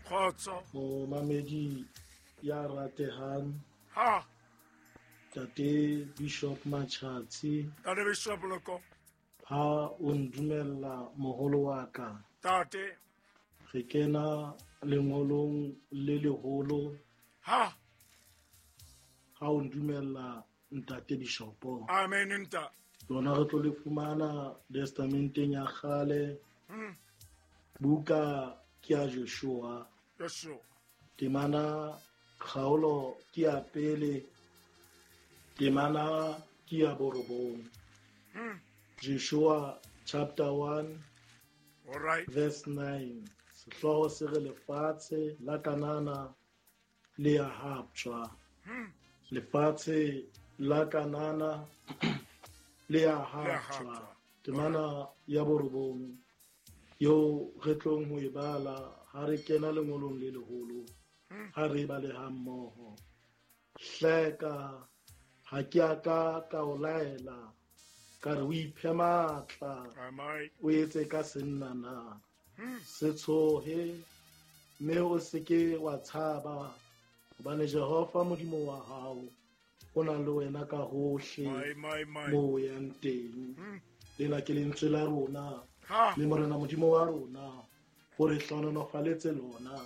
Khotso. Momamedi ya ratehang. Ha. Tate Bishop Machatsi. Tate Bishop Loko. Ha o ndumella moholo wa ka. Tate. Re kena lengolong le leholo. Ha. Ha o ndumella ntate Bishopo. Amen nta. Lona re tlo le fumana testamenteng ya kgale. Buka ke ya Joshua. Joshua. Temana kgaolo ke ya pele. Temana ke ya borobong. Joshua chapter 1. All right. Verse 9. Sehlooho se re lefatshe la Kanana le ya haptjwa. Lefatshe la Kanana le ya haptjwa. Temana ya borobong yo re tlong ho e bala ha re kena lengolong le leholo, ha re bale ha mmoho. Hleka ha ke a ka ka o laela ka re o iphe matla, o etse ka senna na. Se tshohe mme o se ke wa tshaba, hobane Jehova Modimo wa hao o na le wena ka hohle mo o yang teng. Lena ke lentswe la rona, le Morena Modimo wa rona o re hlohonolofaletse lona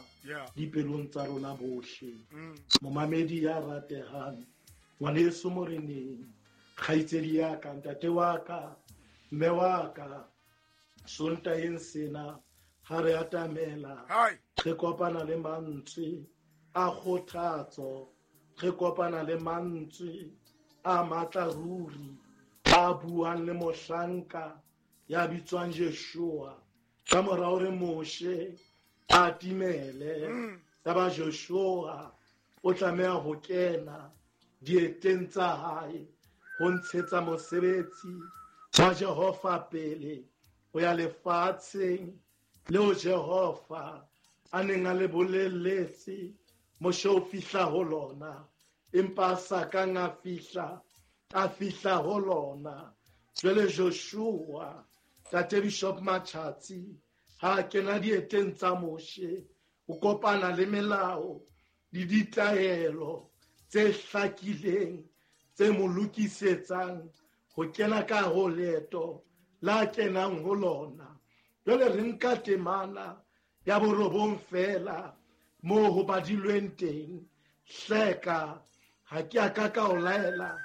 dipelong tsa rona bohle. Momamedi ya ratehang, ngwaneso moreneng, kgaitsedi ya ka, ntate wa ka, mme wa ka, Sontaheng sena ha re atamela, re kopana le mantswe a kgothatso, re kopana le mantswe a matla ruri, a buang le mohlanka ya bitswang Joshua. Ka mora hore Moshe a timele, ya ba Joshua o tlameha ho kena dieteng tsa hae ho ntshetsa mosebetsi wa Jehova pele ho ya lefatsheng leo Jehova a neng a le boleletse Moshe o fihla ho lona, empa a sa kang a fihla, a fihla ho lona. Jwale Joshua, Tate Bishop Machatsi, ha a kena dieteng tsa Moshe, o kopana le melao le ditaelo tse hlakileng tse mo lokisetsang ho kena ka ho leeto la kenang ho lona. Jwale re nka temana ya borobong fela moo ho badilweng teng. Hleka ha ke a ka ka o laela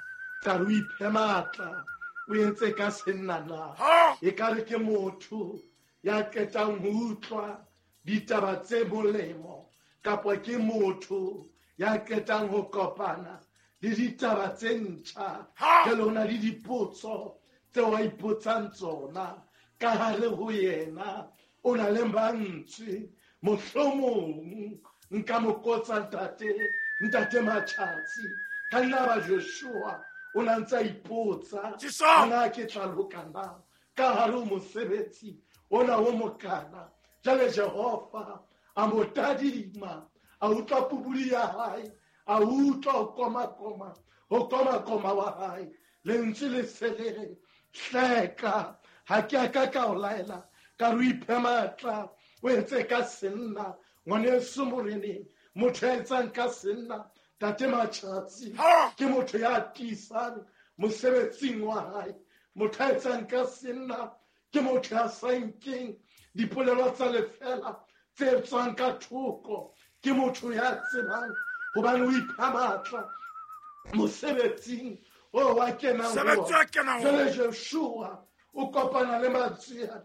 ka re o iphe matla, o entse ka senna na. Ekare ke motho ya qetang ho utlwa ditaba tse molemo, kapa ke motho ya qetang ho kopana le ditaba tse ntjha. Jwale ho na le dipotso tseo a ipotsang tsona ka hare ho yena. O na le mantswe, mohlomong nka mo kotsa ntate Machatsi. Ka nna ba Joshua o na ntse a ipotsa, ana ke tla loka na ka hare ho mosebetsi ona o mokana. Jwale Jehova a mo tadima, a utlwa pubudi ya hae, a utlwa ho koma-koma, ho koma-koma wa hae. Lentswe le se le re, hleka ha ke a ka ka o laela ka re o iphe matla, o etse ka senna. Ngwaneso moreneng, motho ya etsang ka senna, Tate Machatsi, ke motho ya tiisang mosebetsing wa hae. Motho ya etsang ka senna ke motho ya sa nkeng dipolelo tsa lefela tse tswang ka thoko. Ke motho ya tsebang hobane o ipha matla mosebetsing o wa kenang ho ona. Jwale Joshua o kopana le mantswe a,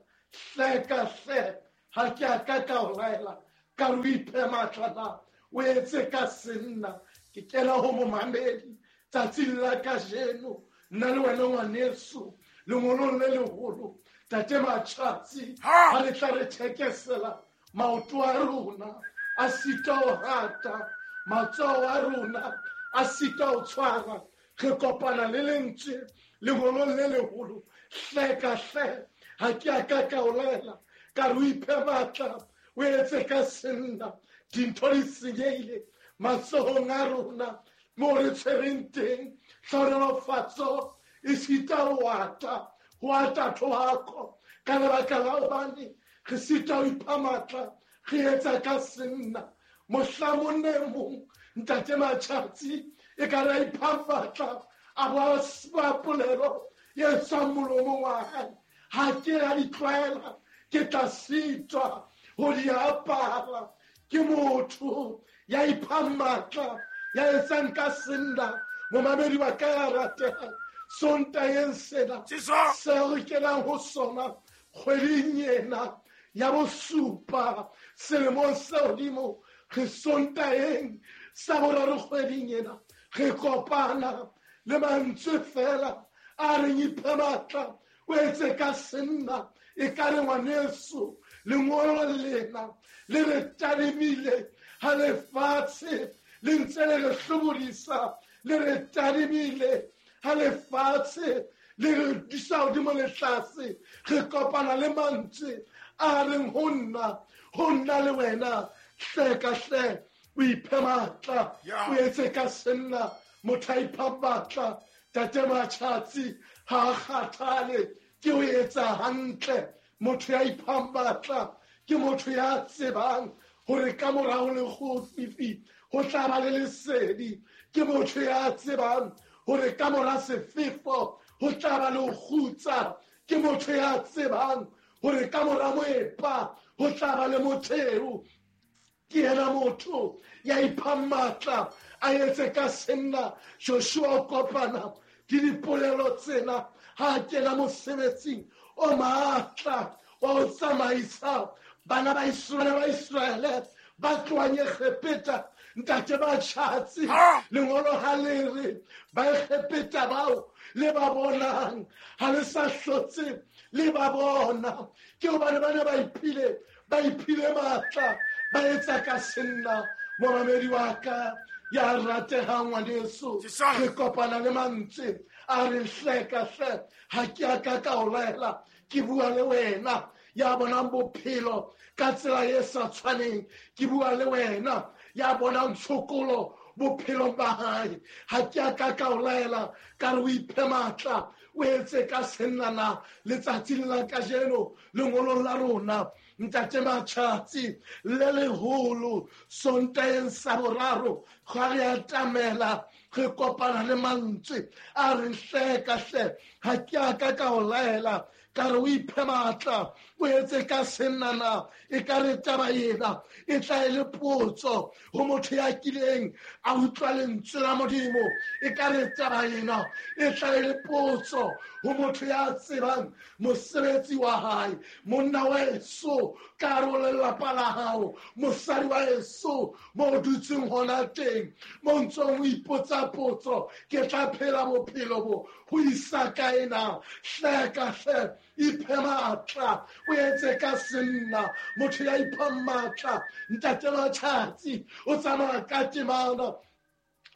hleka hle ha ke a ka ka o laela ka re o iphe matla na, o etse ka senna. Ke kena ho momamedi tsatsing la kajeno, nna le wena ngwaneso lengolong le leholo, Tate Machatsi, ha le tla re thekesela maoto a rona a sita ho hata, matsoho a rona a sita ho tshwara. Re kopana le lentswe lengolong le leholo, hleka hle ha ke a ka ka o laela ka re o iphe matla, o etse ka senna. Dintho di senyehile matsohong a rona moo re tshwereng teng. Hlohonolofatso e sita ho ata, ho ata thohako ka lebaka la hobane re sita ho ipha matla, Re etsa ka senna. Mohla monna e mong ntate Matjhatsi e ka re a ipha matla a bo a polelo e tswang molomong wa hae. Ha ke a di tlwaela ke tla sitwa ho di apara. Ke motho ya iphang matla ya etsang ka senna. Momamedi wa ka ya ratehang, Sontaheng sena seo re kenang ho sona kgweding ena ya bosupa selemong se hodimo, re Sontaheng sa boraro kgweding ena re kopana le mantswe fela a reng iphe matla o etse ka senna. E ka re ngwaneso lengolo lena le re tadimile ha lefatshe le ntse le re hlobodisa, le re tadimile ha lefatshe le re dusa hodimo le tlase. Re kopana le mantswe a reng ho nna le wena, hle ka hle o iphe matla, o etse ka senna. Motho a ipha matla tate Matjhatsi ha a kgathale ke o etsa hantle. Motho ya iphang matla ke motho ya tsebang hore ka morao le kgofifi ho tla ba le lesedi. Ke motho ya tsebang hore ka mora sefefo ho tla ba le ho kgutsa. Ke motho ya tsebang hore ka mora moepa ho tla ba le motheo. Ke yena motho ya iphang matla a etse ka senna. Joshua o kopana ke dipolelo tsena ha a kena mosebetsing o matla wa ho tsamaisa bana ba Iseraele ba tlohang Egepeta. Ntate Matjhatsi, lengolo ha le re ba Egepeta bao le ba bonang ha le sa hlotse le ba bona, ke hobane ba ne ba iphile matla, ba etsa ka senna. Momamedi wa ka ya ratehang ngwaneso, re kopana le mantswe a re hle ka hle ha ke a ka ka o laela, ke bua le wena ya bonang bophelo ka tsela e sa tshwaneng, ke bua le wena ya bonang tshokolo bophelong ba hae. Ha ke a ka ka o laela ka re o iphe matla o etse ka sennana. Letsatsing la kajeno lengolong la rona ntate Matjhatsi le leholo Sontaheng sa boraro ga re atamela re kopana le mantswe a re hle ka hle ha ke a ka ka o laela ka re o iphe matla o etse ka sennana. E ka re taba ena e tla e le potso ho motho ya kileng a utlwa lentswe la Modimo. E ka re taba ena e tla e le potso ho motho ya tsebang mosebetsi wa hae. Monna wa eso ka hare ho lelapa la hao, mosadi wa eso mo o dutseng hona teng, mo ntsong o ipotsa potso, ke tla phela bophelo bo ho isa kae na? Hle ka hle iphe matla o etse ka senna. Motho ya iphang matla ntate Matjhatsi o tsamaya ka temana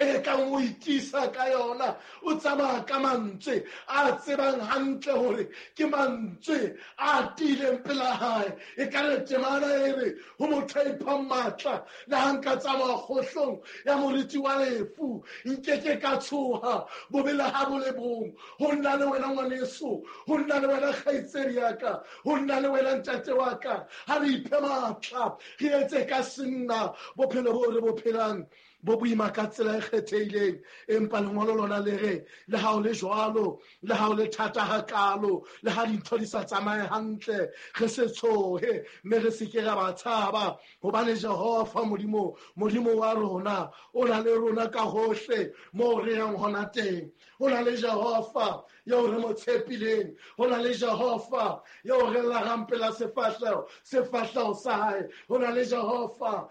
e kang o itisa ka yona, o tsamaya ka mantswe a tsebang hantle hore ke mantswe a tiileng pela hae. E ka re temana e re ho motho a iphang matla, le ha nka tsamaya kgohlong ya moriti wa lefu nkeke ka tshoha bobe le ha bo le bong. Ho nna le wena ngwaneso, ho nna le wena kgaitsedi ya ka, ho nna le wena ntate wa ka, ha re iphe matla re etse ka senna. Bophelo bo re bo phelang bo boima ka tsela e kgethehileng, empa lengolo lona le re le ha o le jwalo, le ha o le thata hakalo, le ha dintho di sa tsamaye hantle, re se tshohe mme re se ke ra ba tshaba, hobane Jehova Modimo, Modimo wa rona o na le rona ka hohle moo re yang hona teng. Ho na le Jehova eo re mo tshepileng, ho na le Jehova eo re lagang pela sefahleho sa hae, ho na le Jehova